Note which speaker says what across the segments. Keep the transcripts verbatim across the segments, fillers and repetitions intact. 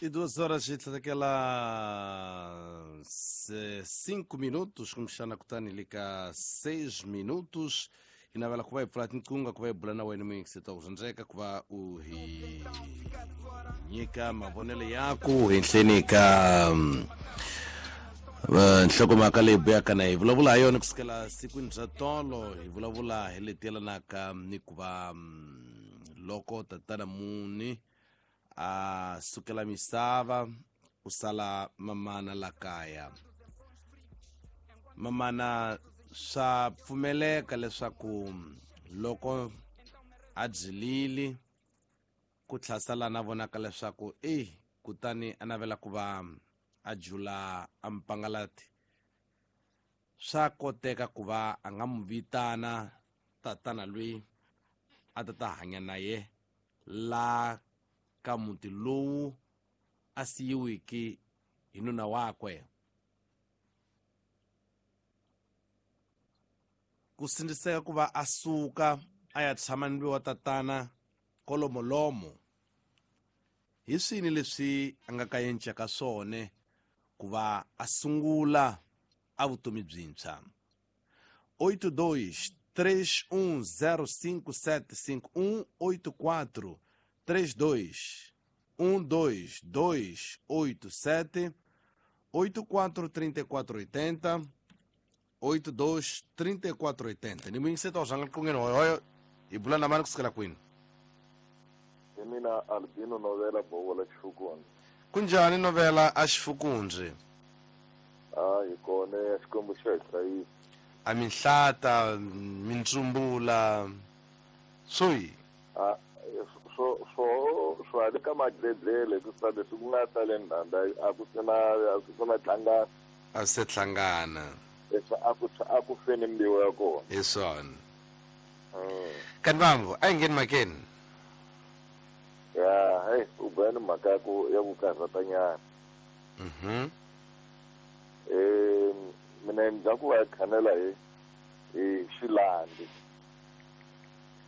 Speaker 1: E duas horas e daquela cinco minutos, como está na kutani lika seis minutos. E na vela kuva ipfula tinkunga kuva ibula na wena muyingiseta ku rhandzeka ku va u hi nyika mavonelo yaku henhleni ka nhlokomhaka leyi buyaka na hi vulavula ha yona kusukela sikwini bya tolo hi vulavula hi leti yelanaka ni ku va loko tatana muni a sukela misava ku sala mamana la kaya. Mamana swa pfumeleka leswaku loko a byilile ku tlhasala na vonaka leswaku e kutani a navela ku va a jula a mpangalati swa koteka ku va a nga mu vitana tatana loyi a ta ta hanya na ye la ka muti lowu a siyiwiki hi nuna wakwe. Ku sindziseka ku va a suka a ya tshama ni wa tatana kolomolomo hi swini leswi a nga ka yencaka swona ku va a sungula a vutomi byintshwa. Oito dois três um zero cinco sete cinco um oito quatro três dois um dois dois oito sete oito quatro trinta e quatro oitenta oito dois trinta e quatro oitenta. Ni mwingi seta ozanga kungeno hoyo ibula na mani kusikela kwini.
Speaker 2: Mina Albino Novela Bola Xifukunzi.
Speaker 1: Kunjani Novela a Xifukunzi?
Speaker 2: Ah, ikone Xikwembu xa hi hlayisa.
Speaker 1: A minhlata, mintsumbula swi.
Speaker 2: Ah, so so so a le ka madledlele ku sa leswi ku nga sale ndanda a ku sena a ku sena tlangana.
Speaker 1: A se tlangana.
Speaker 2: Leswi a ku a ku feni mbiwu ya kona.
Speaker 1: Hi swona. Kanti vambu a yi ngheni makeni.
Speaker 2: Ya, hey, u bani mhaka ya ku ya ku karhatanyana.
Speaker 1: Mhm.
Speaker 2: Eh, mina ndza ku va khanela hi hi xilandi.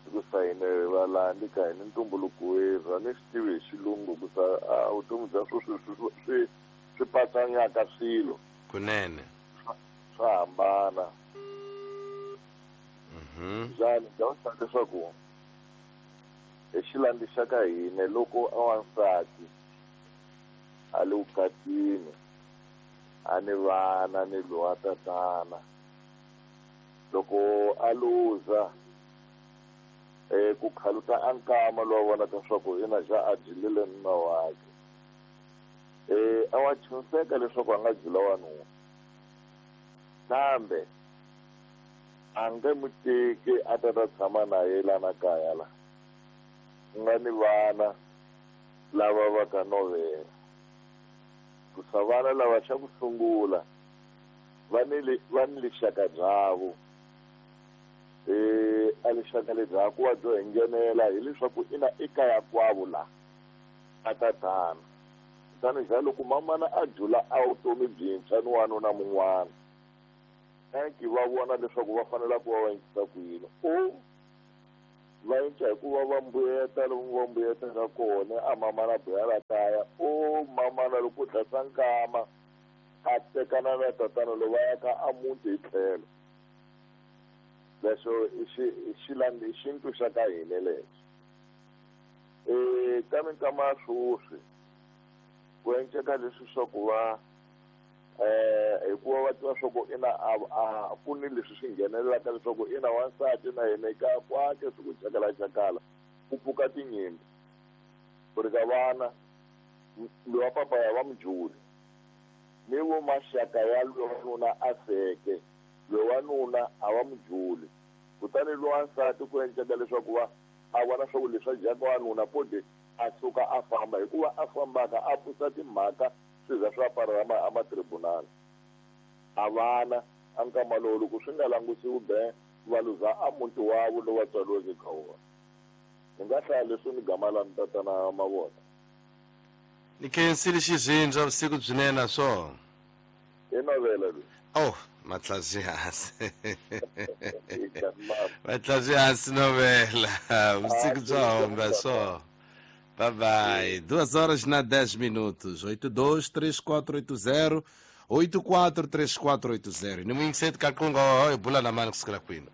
Speaker 2: Ku sayine valandi ka hina ntumbuluko werhu a ni swi tivi hi xilungu ku sa a vutomi bya sweswi swi swi swi patsanyaka swilo.
Speaker 1: Kunene.
Speaker 2: Swa hambana.
Speaker 1: Mhm.
Speaker 2: Njhani bya sa leswaku hi xilandi xa ka hina loko a wansati a le vukatini a ni vana ni lowa tatana loko a luza eh ku khaluta a nkama lowa vonaka leswaku ina xa a dyilile nuna wakhe eh a wa chunseka leswaku a nga dyila wanuna kambe a nge mu teki a ta ta tshama na ye lana kaya la ku nga ni vana lava va ka novela ku sa vana lava xa ku sungula va ni va ni lixaka byavo eh a lixaka lebya ku wa byo hi nghenela hileswaku ina ekaya kwavo la a tatana kutani ja loko mamana a jula a vutomi byintshwa ni wanuna mun'wana anki va vona leswaku va fanela ku va va encisa ku yini o va enca hikuva va mbuyeta lomu va mbuyetaka kona a mamana buya la kaya o mamana loko tlhasa nkama a tekana na tatana lowu va yaka a muti hi tlhelo. Leswo i xi i xilandi i xintu xa ka hina lexo. Eh ka minkama ya sweswi ku enceka leswi swa ku va eh hikuva va tiva swa ku ina a a ku ni leswi swi nghenelelaka leswaku ina wansati na yena eka kwake swi ku cakala cakala ku pfuka tinyimpi ku ri ka vana lowa papa ya va mujuli ni vo maxaka ya lowanuna a feke lowanuna a va mujuli kutani lowansati ku enceka leswaku va a vona swa ku leswi a dyaka wanuna pode a suka a famba hikuva a fambaka a pfusa timhaka swi za swi aparela a matribunal a vana a nkama lowu loko swi nga langutisiwi be va luza a muti wavo lowu va tswariweke ka wona. Ni nga hlaya leswi ni gama la ni tatana mavona.
Speaker 1: Ni khensile xizindza vusiku byinene swo.
Speaker 2: I novela leyi.
Speaker 1: Oh, matlazi hansi. Matlazi hansi novela. Vusiku bya homba swo. Bye bye. Duas horas na dez minutos. Oito dois três quatro oito zero oito quatro três quatro oito zero. Ni muyingiseti ka qunga hi bula na mani kusukela kwini?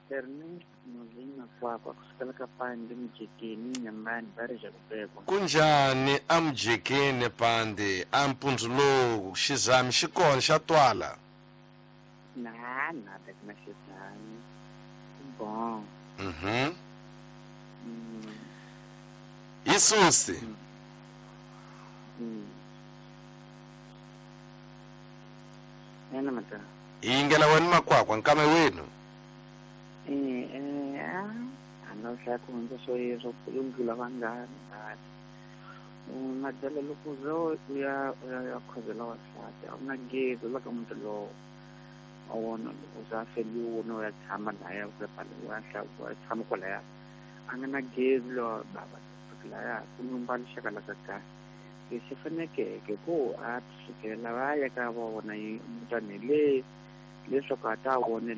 Speaker 3: Ernest Muzima kwakwa kusukela ka Pandi Mjekeni Nyambani Barija Kubekwa.
Speaker 1: Kunjani amjekeni Pandi ampundzu lowu xizami xi kona xa twala?
Speaker 3: Na na na xizami. Bon.
Speaker 1: Mhm.
Speaker 3: Mm.
Speaker 1: Isusi.
Speaker 3: Mm. Ena mata.
Speaker 1: Yingela wena makwakwa nkame wenu.
Speaker 3: Eh eh ah ano sa ku ndza so yeso kulungila vangani ngani. Madala loko zo ya ya khozela wasati a na gezi la ka muntu lowo a wona loko za feliwe no ya tshama na ya ku pala wa hla wa tshama kwalaya a nga na gezi lo baba laya ku lumba lixaka la ka kahle lexi fanekeke ku a sukela va ya ka va vona mutani le leswaku a ta vona